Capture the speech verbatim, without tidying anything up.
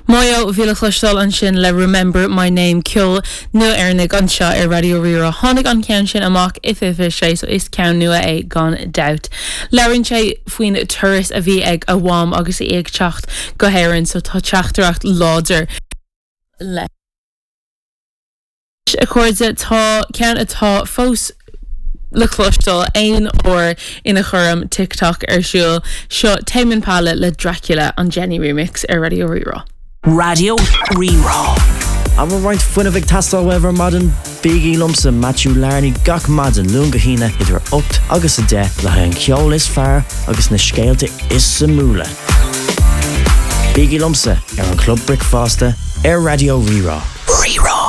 Mayo bhí le cloisteáil ansin le Remember My Name ceol nua Éireannach anseo ar Raidió Rí-Rá tháinig an ceann sin amach i fiche sé so is ceann nua é gan dabht. Labhraíonn sé faoin turas a bhí ag a mham agus í ag teacht go hÉirinn so tá teachtaireacht láidir le. A chairde tá ceann atá fós le cloisteáil aon uair ina chuirim TikTok ar siúl seo Tame Impala le Dracula an Jenny remix ar Raidió Rí-Rá. Raidió Rí-Rá. An bhfuil roinnt fuinnimh ag teastáil uaibh ar maidin bígí liomsa Matthew Larney gach maidin Luan go hAoine idir ocht agus a deich le haghaidh an ceol is fearr agus na scéalta is suimiúla. Bígí liomsa ar an Club Bricfeasta ar Raidió Rí-Rá. Rí-Rá.